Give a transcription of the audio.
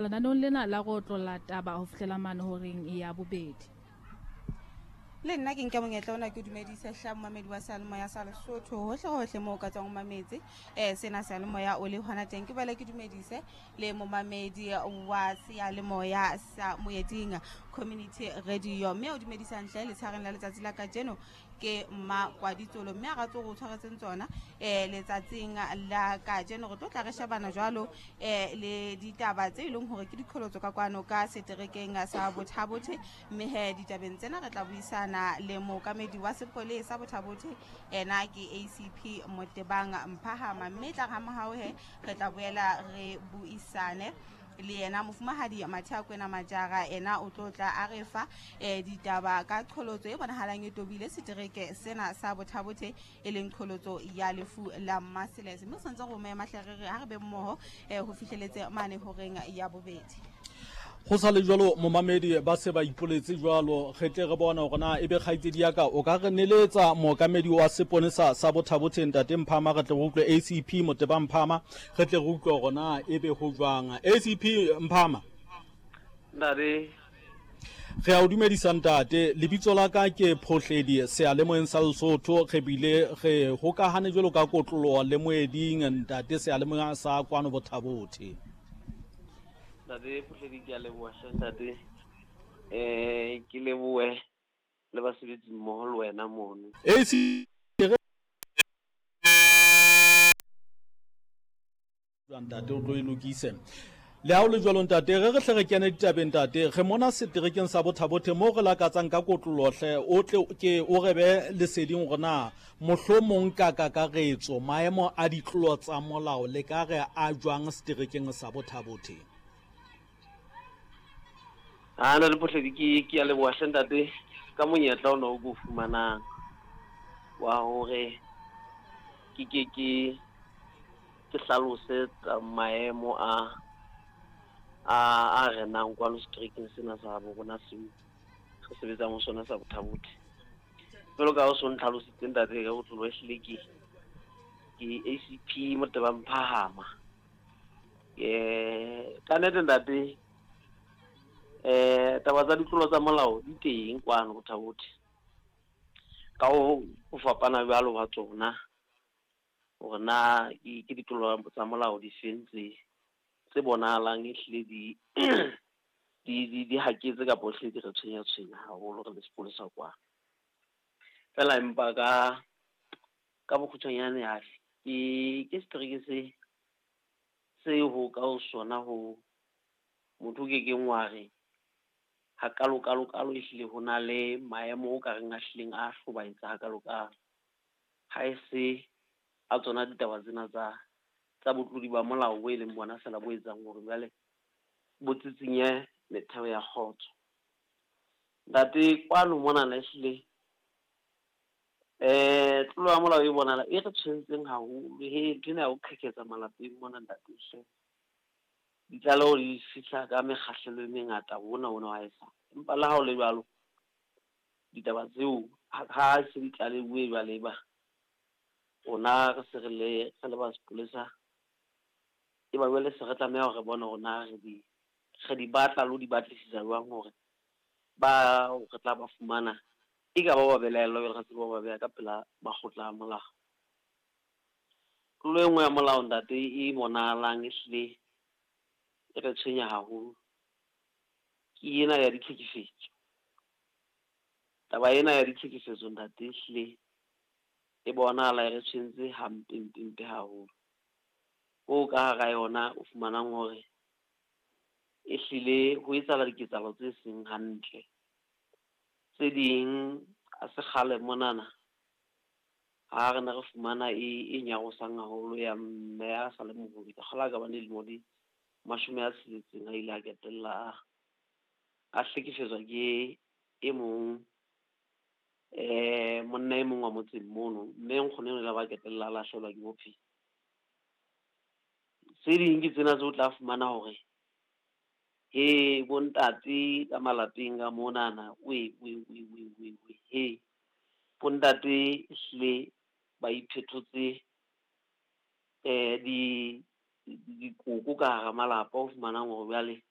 Lenaneong lena la go otlolla taba ho fihlela mane horeng ya bobedi. Le nna ke nke monyetla ona ke dumedise hla momamedi wa seyalemoya sa Lesotho hohle hohle moo o ka tswang o mametse um sena seyalemoya o le hona teng. Ke boele ke dumedise le momamedi wa seyalemoya sa Moeding Community Radio, mme o dumedisang hle letshareng la letsatsi la kajeno ke Mmakwaditsolo, mme a ra tso go tshwaretseng tsona letsatsing la kajeno. Re tlo tla re shebana jwalo le ditaba tse e leng hore ke diqholotso ka kwano ka seterekeng sa Bothabothe, mme he ditabeng tsena re tla buisana le mookamedi wa sepolesa Bothabothe, ena ke ACP Motebang Mphahama, mme tla ha mohao he re tla boela re buisane le yena mofumahadi Mathea Kwena Majara, ena o tlo tla a re fa ditaba ka qholotso e bonahalang e tobile setereke sena sa Bothabothe, e leng qholotso ya lefu la Maseles. Mme o santse go mema hle re re ha re be mmoho ho fihleletse mane horeng ya bobedi. Go sa le jwalo momamedi ba se ba ipoletse jwalo, re tle re bone hore na ebe kgaitsedi ya ka o ka re neletsa mookamedi wa seponesa sa Bothabothe ntate Mphama, re tle re utlwe ACP Moteba Mphama, re tle re utlwe hore na ebe ho jwang. ACP Mphama. Ntate. Re a o dumedisa ntate, lebitso la ka ke Phohledi seyalemoyeng sa Lesotho, re bile re hokahane jwalo ka kotloloho le moeding ntate seyalemoya sa kwano Bothabothe. Ntate Phohledi, ke a leboha hle ntate. Ke lebohe le basebetsi mmoho le wena mono. AC ntate o tlo e lokise. Le ha o le jwalo ntate, re re hle re kene ditabeng ntate, re mona seterekeng sa Bothabothe moo re lakatsang ka kotloloho hle, o tle ke o re be leseding hore na mohlomong ka kakaretso maemo a ditlolo tsa molao le ka re a jwang seterekeng sa Bothabothe. A na le Phohledi, ke a leboha hle ntate ka monyetla ona o ko fumanang wa hore ke ke ke ke hlalose tsa maemo a a renang kwano seterekeng sena sa bo rona seo re sebetsang ho sona sa Bothabothe. Jwalo ka ha o so ntlhalositse ntate ka botlolo, ehlile ke ACP Moteba Mphahama. Ka nnete ntate, taba tsa ditlolo tsa molao di teng kwano Bothabothe. Ka ho fapana jwalo ha tsona, hore na ke ditlolo tsa molao di feng tse bonahalang ehlile di di haketse kapa ehlile di re tshwenya tshwenya haholo re le sepolesa kwano. Feela empa ka bokgutshwanyane ke setereke se ho ka ho sona ho motho o kekeng wa re ha kalo kalo kalo ehlile ho na le maemo o ka reng a hlileng a hlobaetsa ha kalo kalo. Ha e se a tsona ditaba tsena tsa botlodi ba molao bo e leng bona feela bo etsang hore jwale bo tsitsinye metheo ya kgotso. Ntate kwano monana ehlile tlolo ya molao e bonahala e re tshwentseng haholo, he nthwena ya ho qheketsa malapeng mona ntate hle. Ditlaleho di fihla ka mekgahlelo e mengata hona hona wa haesale. Empa le ha ho le jwalo, ditaba tseo ha se di tlaleuwe jwale ba rona re se re le re le ba sepolesa, e ba jwale se re tlameha hore re bone hore na re di batla le ho di batlisisa jwang hore ba re tla ba fumana e ka ba ba belaellwa jwale re tsebe ho ba beha ka pela makgotla a molao. Tlolo e nngwe ya molao ntate e bonahalang ehlile e re tshwenya haholo ke ena ya ditlhekefetso. Taba ena ya ditlhekefetso ntate ehlile e bonahala e re tshwentse hampe mpe mpe haholo. Hoo ka hara yona o fumanang hore ehlile ho etsahala diketsahalo tse seng hantle. Tse ding ha se kgale monana ha re ne re fumana e nyarosang haholo ya mme a sa le moholo, ke kgolwa ka ba dilemo di 60 a ile a ketella a hlekefetswa ke e mong monna e mong wa motseng mono, mme nkgono eno la ba ketella a lahlehelwa ke bophelo. Tse ding ke tsena tseo o tla fumana hore he bontate ka malapeng ka monana, we we we we we we he bontate ehlile ba iphetotse di dikoko ka hara malapa o fumanang hore jwale.